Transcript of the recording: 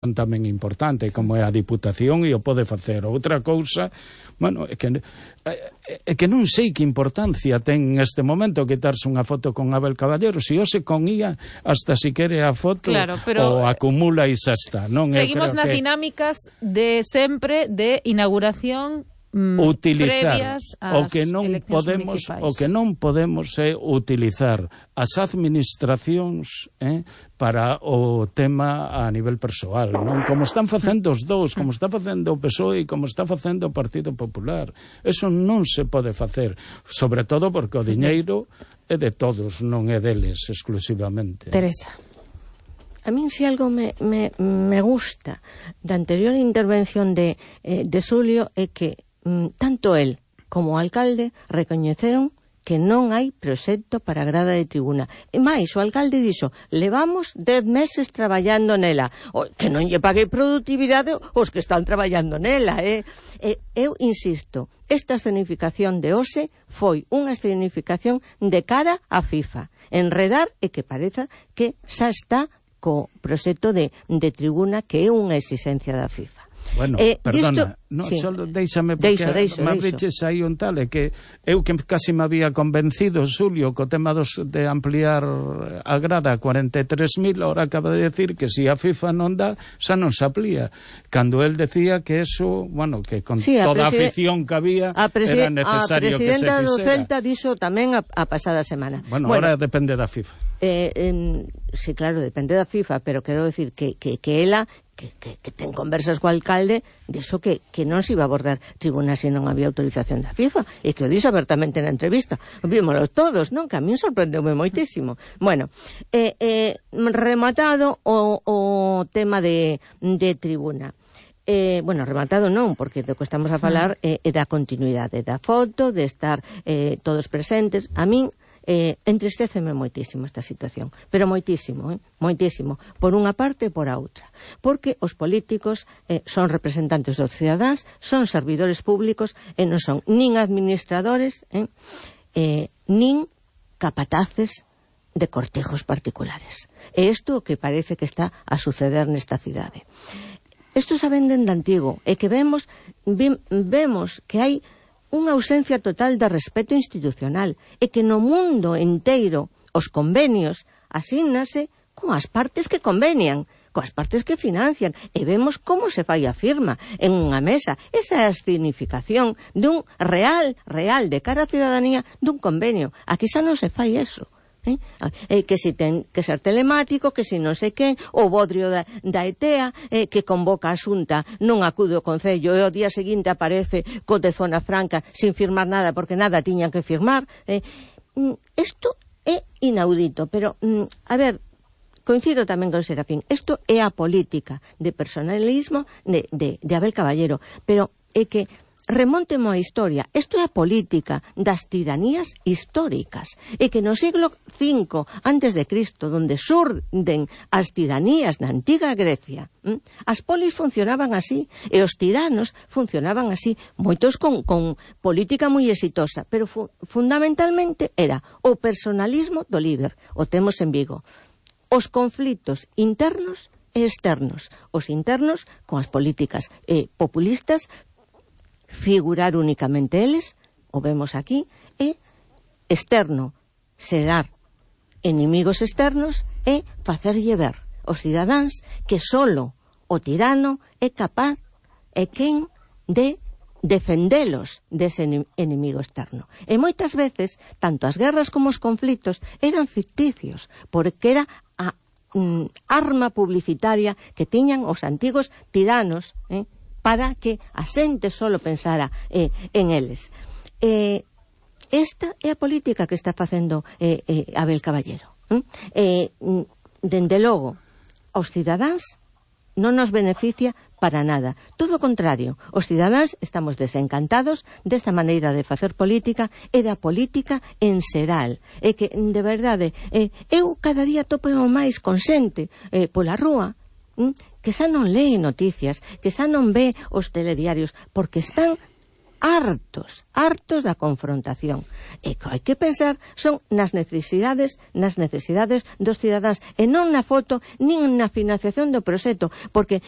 tamén importante, como é a Diputación, e o pode facer. Outra cousa, bueno, é que non sei que importancia ten neste momento quitarse unha foto con Abel Caballero, se hoxe con IA hasta si quere a foto, claro, pero, o acumula e xa está, non? Seguimos nas dinámicas de sempre de inauguración utilizar o que non podemos é utilizar as administracións para o tema a nivel persoal, non? Como están facendo os dous, como está facendo o PSOE e como está facendo o Partido Popular. Eso non se pode facer, sobre todo porque o diñeiro é de todos, non é deles exclusivamente. Teresa. A min se algo me gusta da anterior intervención de Xulio é que tanto el como o alcalde recoñeceron que non hai proxecto para a grada de tribuna. E máis, o alcalde dixo, levamos 10 meses traballando nela. Que non lle pague productividade os que están traballando nela. Eu insisto, esta escenificación de hoxe foi unha escenificación de cara a FIFA. Enredar e que pareza que xa está co proxecto de tribuna, que é unha exigencia da FIFA. Bueno, perdona, déixame, porque me abriches aí un tal, é que eu que casi me había convencido, Xulio, co tema de ampliar a grada a 43.000, ahora acaba de decir que se a FIFA non dá, xa non se amplía. Cando él decía que eso, bueno, que con toda a afición que había era necesario que se fixera. A presidenta do Celta dixo tamén a pasada semana. Bueno, ahora depende da FIFA. Sí, claro, depende da FIFA, pero quero decir que ela que ten conversas co alcalde dixo que non se iba a abordar tribuna se non había autorización da FIFA, e que o dixo abertamente na entrevista. Vímoslo todos, non? Que a mí sorprendeume moitísimo. Bueno, rematado o tema de tribuna. Bueno, rematado non, porque do que estamos a falar é da continuidade da foto, de estar todos presentes. A min entristeceme moitísimo esta situación, pero moitísimo, moitísimo, por unha parte e por a outra, porque os políticos son representantes dos cidadáns, son servidores públicos e non son nin administradores nin capataces de cortejos particulares. E isto que parece que está a suceder nesta cidade. Isto xa venden de antigo, e que vemos que hai unha ausencia total de respeto institucional, e que no mundo inteiro os convenios asígnase coas partes que convenian, coas partes que financian, e vemos como se fai a firma en unha mesa. Esa é a significación dun real de cara á cidadanía dun convenio. Aquí xa non se fai eso. Que si ten que ser telemático, que si non sei quen, o bodrio da ETEA, que convoca a Xunta, non acude ao Concello, e o día seguinte aparece co de Zona Franca sin firmar nada, porque nada tiñan que firmar. Isto é inaudito, pero, a ver, coincido tamén con Serafín, isto é a política de personalismo de Abel Caballero, pero é que remontemo a historia. Isto é a política das tiranías históricas, e que no siglo V antes de Cristo, donde surden as tiranías na antiga Grecia, as polis funcionaban así, e os tiranos funcionaban así, moitos con política moi exitosa, pero fundamentalmente era o personalismo do líder. O temos en Vigo. Os conflitos internos e externos. Os internos con as políticas populistas, figurar únicamente eles, o vemos aquí, e externo, xerar inimigos externos e facerlle ver aos cidadáns que solo o tirano é capaz e quen de defendelos dese inimigo externo. E moitas veces, tanto as guerras como os conflitos eran ficticios, porque era a arma publicitaria que tiñan os antigos tiranos, para que a xente solo pensara en eles. Esta é a política que está facendo Abel Caballero. Dende logo, aos cidadáns non nos beneficia para nada. Todo o contrario, os cidadáns estamos desencantados desta maneira de facer política e da política en xeral. É que, de verdade, eu cada día topo máis con xente pola rúa que xa non lee noticias, que xa non ve os telediarios, porque están hartos da confrontación. E que hai que pensar son nas necesidades dos cidadáns e non na foto nin na financiación do proxecto, porque